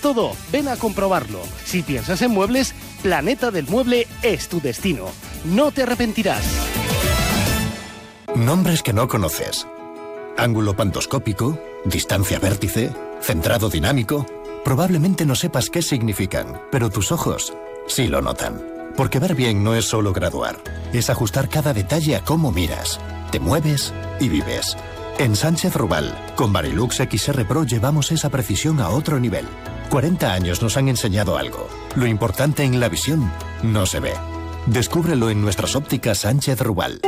todo, ven a comprobarlo. Si piensas en muebles, Planeta del Mueble es tu destino. No te arrepentirás. Nombres que no conoces. Ángulo pantoscópico, distancia vértice, centrado dinámico. Probablemente no sepas qué significan, pero tus ojos sí lo notan. Porque ver bien no es solo graduar, es ajustar cada detalle a cómo miras, te mueves y vives. En Sánchez Rubal, con Varilux XR Pro llevamos esa precisión a otro nivel. 40 años nos han enseñado algo. Lo importante en la visión no se ve. Descúbrelo en nuestras ópticas Sánchez Rubal.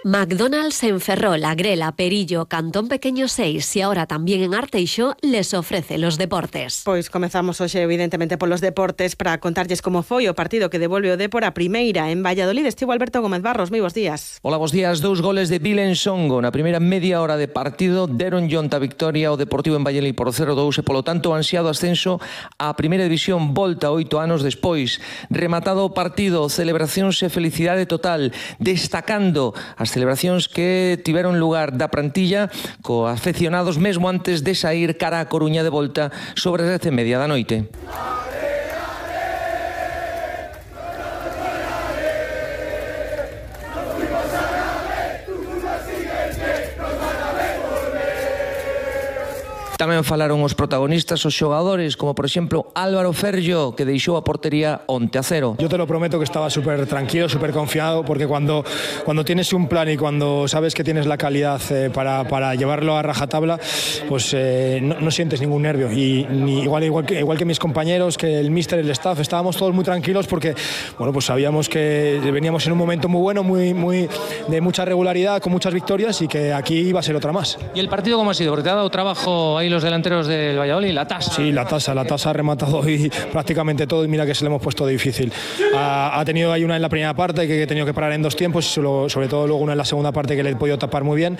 McDonald's en Ferrol, Agrela, Perillo, Cantón Pequeño 6 y ahora también en Arteixo les ofrece los deportes. Pois comezamos hoxe evidentemente polos deportes para contarlles como foi o partido que devolve o Dépor a primeira en Valladolid. Estivo Alberto Gómez Barros, moi bons días. Hola, bons días. 2 goles de Vilen Songo na primeira media hora de partido deron lionta victoria ao Deportivo en Valladolid por 0-2 e polo tanto o ansiado ascenso á primeira división volta 8 anos despois. Rematado o partido, celebracións e felicidade total, destacando as celebracións que tiveron lugar da plantilla co afeccionados mesmo antes de sair cara a Coruña de volta sobre as 10:30 da noite. Tamén falaron os protagonistas, os xogadores, como por exemplo Álvaro Ferllo, que deixou a portería onte a 0. Yo te lo prometo que estaba súper tranquilo, súper confiado, porque cuando tienes un plan y cuando sabes que tienes la calidad para llevarlo a rajatabla, pues no sientes ningún nervio. Y igual que mis compañeros, que el míster, el staff, estábamos todos muy tranquilos porque bueno, pues sabíamos que veníamos en un momento muy bueno, muy de mucha regularidad, con muchas victorias y que aquí iba a ser otra más. ¿Y el partido cómo ha sido? Porque te ha dado trabajo ahí los delanteros del Valladolid, la tasa. Sí, la tasa ha rematado hoy prácticamente todo y mira que se le hemos puesto difícil. Ha tenido ahí una en la primera parte que he tenido que parar en 2 tiempos, sobre todo luego una en la segunda parte que le he podido tapar muy bien.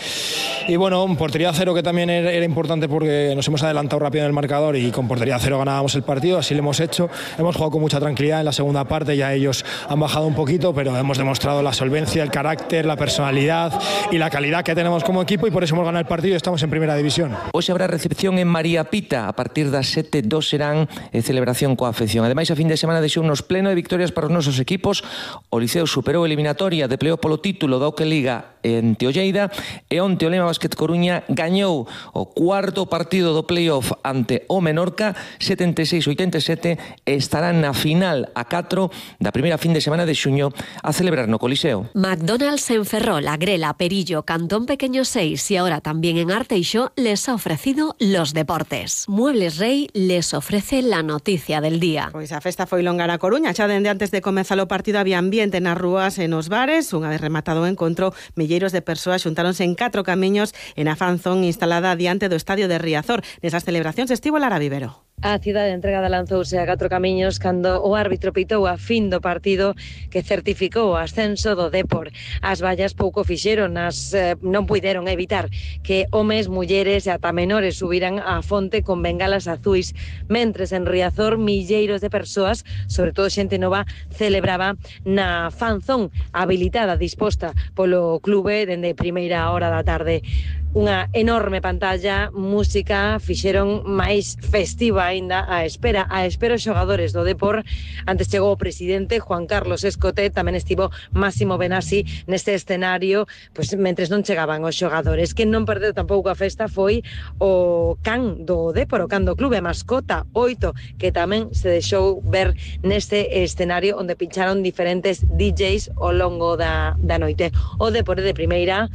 Y bueno, portería 0 que también era importante porque nos hemos adelantado rápido en el marcador y con portería 0 ganábamos el partido, así lo hemos hecho. Hemos jugado con mucha tranquilidad en la segunda parte, ya ellos han bajado un poquito, pero hemos demostrado la solvencia, el carácter, la personalidad y la calidad que tenemos como equipo y por eso hemos ganado el partido y estamos en primera división. Hoy habrá recepción en María Pita a partir das 7:02 serán celebración coa afección. Ademais, a fin de semana deixou unos pleno de victorias para os nosos equipos. O Liceo superou a eliminatoria de playoff polo título da Oque Liga en Teolleida e onte o Lema Basket Coruña gañou o cuarto partido do playoff ante o Menorca 76-87 e estará na final a 4 da primeira fin de semana de xuño a celebrar no Coliseo. McDonald's en Ferrol, Agrela, Perillo, Cantón Pequeño 6 y ahora también en Arteixo les ha ofrecido los deportes. Muebles Rey les ofrece la noticia del día. Pois a festa foi longa na Coruña, xa dende antes de comezar o partido había ambiente nas rúas e nos bares. Unha vez rematado o encontro, milleiros de persoas xuntáronse en 4 camiños en a fanzón instalada diante do estadio de Riazor. Nesas celebracións estivo Lara Vivero. A cidade entregada lanzouse a 4 camiños cando o árbitro pitou a fin do partido que certificou o ascenso do Dépor. As vallas pouco fixeron, non puideron evitar que homes, mulleres e ata menores subiran á fonte con bengalas azuis, mentres en Riazor milleiros de persoas, sobre todo xente nova, celebraba na fanzón habilitada, disposta polo clube dende primeira hora da tarde. Unha enorme pantalla, música, fixeron máis festiva aínda a espera os xogadores do Dépor. Antes chegou o presidente Juan Carlos Escote, tamén estivo Máximo Benassi neste escenario, pois mentres non chegaban os xogadores. Quen non perdeu tampouco a festa foi o can do Dépor, o can do clube, a mascota 8, que tamén se deixou ver neste escenario onde pincharon diferentes DJs ao longo da noite. O Dépor de primeira,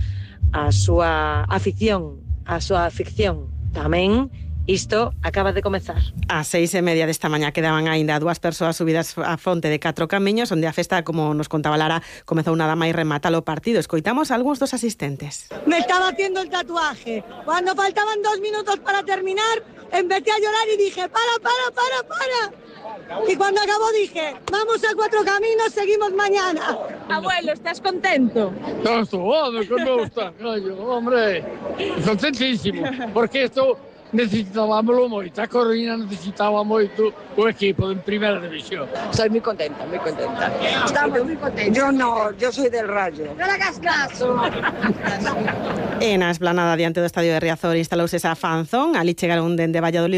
a súa afición tamén. Isto acaba de comezar. A 6:30 desta mañá quedaban aínda 2 persoas subidas á fonte de 4 camiños, onde a festa, como nos contaba Lara, comezou nada máis rematar o partido. Escoitamos a algúns dos asistentes. Me estaba haciendo el tatuaje. Cuando faltaban 2 minutos para terminar, empecé a llorar y dije, para. Y cuando acabó dije, vamos a 4 caminos, seguimos mañana. Abuelo, ¿estás contento? No, hombre, contentísimo, porque esto necesitábamos moito, a Coruña necesitaba moito o equipo en primeira división. Estoy muy contenta. Estamos muy contentos. Yo soy del Rayo. No le hagas caso. En a esplanada diante do estadio de Riazor instalouse esa fanzón, ali chegaron dende Valladolid